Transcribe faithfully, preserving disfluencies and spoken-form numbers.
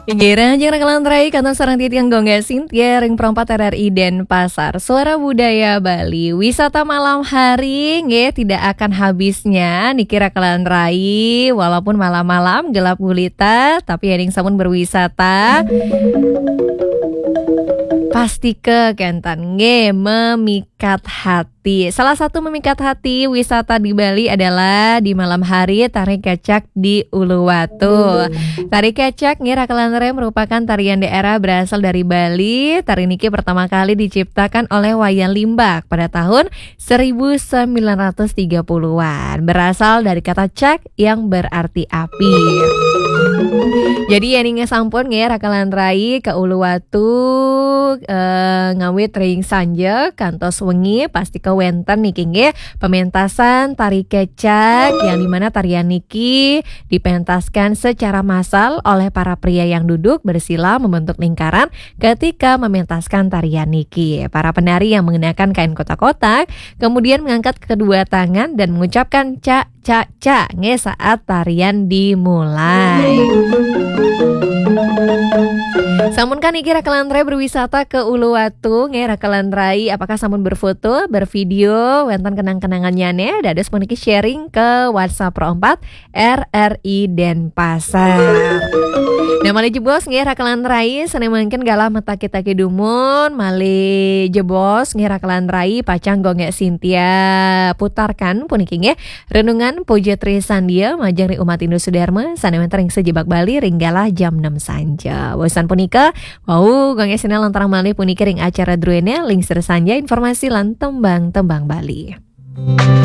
Inggih, rahajeng Raka lan Rai, kantun sareng titiang Gung Gek Sintia ring Pro empat R R I Denpasar. Suara Budaya Bali, wisata malam hari nggih tidak akan habisnya niki Raka lan Rai, walaupun malam-malam gelap gulita, tapi yéning sampun berwisata, pastika kénten nggih memikat hati. Salah satu memikat hati wisata di Bali adalah di malam hari tari kecak di Uluwatu. Tari kecak nggih Raka lan Rai merupakan tarian daerah berasal dari Bali. Tari niki pertama kali diciptakan oleh Wayan Limbak pada tahun seribu sembilan ratus tiga puluhan, berasal dari kata cak yang berarti api. Jadi yéning sampun nggih Raka lan Rai ka Uluwatu, eh, ngawit ring sanja kantos wengi, pastika wénten niki nggih pementasan tari kecak, yang dimana tarian niki dipentaskan secara massal oleh para pria yang duduk bersila membentuk lingkaran ketika mementaskan tarian niki. Para penari yang mengenakan kain kotak-kotak kemudian mengangkat kedua tangan dan mengucapkan cak, cak, cak nggih saat tarian dimulai. Sampun kan niki Raka lan Rai berwisata ke Uluwatu nggih Raka lan Rai, apakah sampun berfoto, bervideo, wénten kenang-kenangannya nih, dados puniki sharing ke WhatsApp Pro empat R R I Denpasar. Nah, malih jebos nggih Raka lan Rai, sané mangkin galah mataki-taki dumun, malih jebos nggih Raka lan Rai, pacang Gung Gek Sintia putarkan puniki nggih renungan Puja Tri Sandia majeng ring umat Hindu Sudarma sané wénten ring sajebag Bali ring galah jam enam sanja. Wusan punika, wau Gung Gek Sintia lanturang malih puniki ring acara druéné Lingsir Sanja, informasi lan tembang-tembang Bali.